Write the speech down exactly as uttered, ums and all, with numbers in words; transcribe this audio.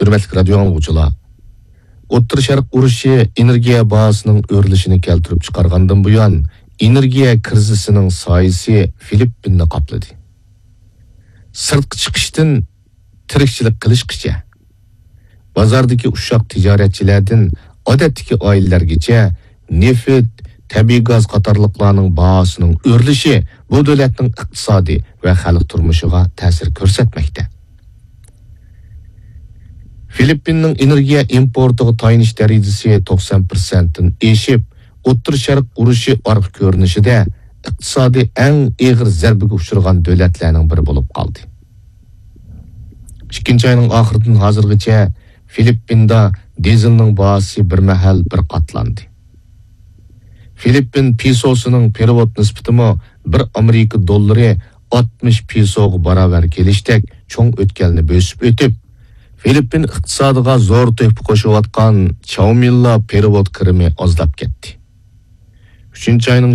ھۆرمەتلىك رادىيو ئاڭلىغۇچىلار، ئوتتۇرا شەرق ئۇرۇشى ئېنېرگىيە باھاسىنىڭ ئۆرلىشىنى كەلتۈرۈپ چىقارغاندىن بۇيان، ئېنېرگىيە كىرىزىسىنىڭ سايىسى فىلىپپىننى قاپلىدى. سىرتقا چىقىشتىن تىرىكچىلىك قىلىشقىچە، بازاردىكى ئۇششاق تىجارەتچىلەردىن ئادەتتىكى ئائىلىلەرگىچە نېفىت، تەبىئىي گاز قاتارلىقلارنىڭ باھاسىنىڭ ئۆرلىشى بۇ دۆلەتنىڭ ئىقتىسادى ۋە خەلق تۇرمۇشىغا تەسىر كۆرسەتمەكتە. فىلىپپىننىڭ ئېنېرگىيە ئىمپورتىغا تايىنىش دەرىجىسى توقسان پىرسەنتتىن ئېشىپ، ئوتتۇرا شەرق ئۇرۇشى ئارقا كۆرۈنۈشىدە ئىقتىسادى ئەڭ ئېغىر زەربىگە ئۇچرىغان دۆلەتلەرنىڭ بىرى بولۇپ قالدى. ئىككىنچى ئاينىڭ ئاخىرىدىن ھازىرغىچە فىلىپپىندا دىزېلنىڭ باھاسى بىر مەھەل بىر قاتلاندى. فىلىپپىن پېسوسىنىڭ پېرېۋوت نىسبىتىمۇ بىر ئامېرىكا دوللىرى ئاتمىش پېسوغا باراۋەر كېلىشتەك چوڭ ئۆتكەلنى بۆسۈپ ئۆتۈپ، فىلىپپىن ئىقتىسادىغا زور تۆھپە قوشۇۋاتقان چاۋمىنلا پېرېۋوت كىرىمى ئازلاپ كەتتى. ئۈچىنچى ئاينىڭ